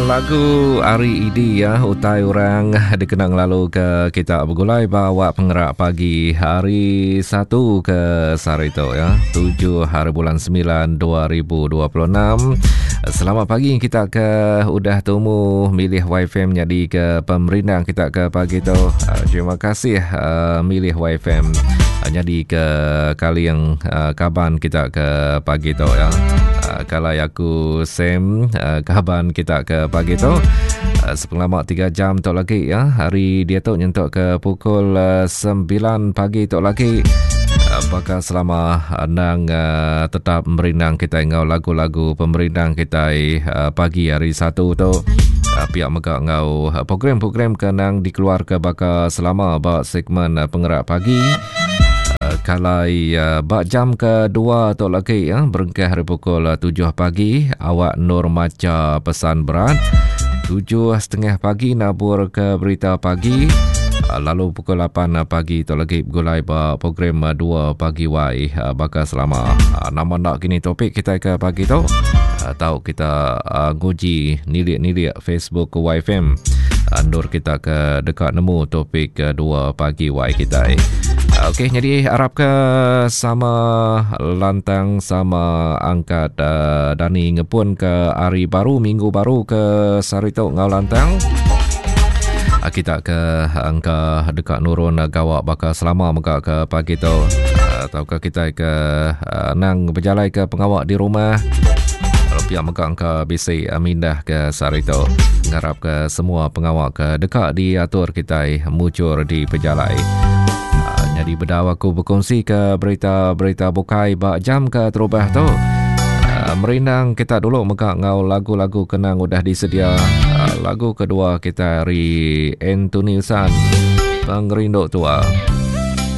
lagu ari ID ya utai orang dikena ngelalu ke kita begulai ba awak pengerak pagi hari satu ke sehari tu ya. 7 hari bulan 9 2026. Selamat pagi kita ke udah tumu milih YFM jadi ke pemerindang kita ke pagi tu. Ah, terima kasih uh, milih YFM ah, jadi ke kaling uh, kaban kita ke pagi tu ya. Uh, kalau aku Sam uh, kaban kita ke pagi tu uh, sepengelama 3 jam tu lagi ya. Hari dia tu nyentuk ke pukul uh, 9 pagi tu lagi. Uh, bakal selama nang uh, tetap merindang kita ngau lagu-lagu pemerindang kita uh, pagi hari satu tu. Uh, pihak mega ngau program-program ke nang dikeluar ke bakal selama ba segmen uh, pengerak pagi. Uh, kalai uh, ba jam kedua tu lagi ya berengkah hari pukul 7 uh, pagi awak Nur maca pesan berat 7.30 pagi nabur ke berita pagi lalu pukul 8 pagi tu lagi bergulai ba program 2 pagi wai bakal selama nama nak kini topik kita ke pagi tu atau kita nguji nilik-nilik Facebook YFM endur kita ke dekat nemu topik ke 2 pagi wai kita. Okey, jadi harap ke sama lantang sama angkat uh, Dani ngepun ke hari baru minggu baru ke sehari tu ngau lantang. Uh, kita ke angka dekat nurun gawak bakal selama mega ke pagi tu atau ke kita ke uh, nang berjalai ke pengawak di rumah pihak mega angka bisi mindah ke sehari tu. Ngarap ke semua pengawak ke dekat diatur kita mucur di pejalai. Uh, jadi bedau aku berkongsi ke berita-berita bukai ba jam ke terubah tu. Uh, merindang kita dulu mega ngau lagu-lagu kenang udah disedia. Uh, lagu kedua kita dari Anthony San, Pengerindu Tua.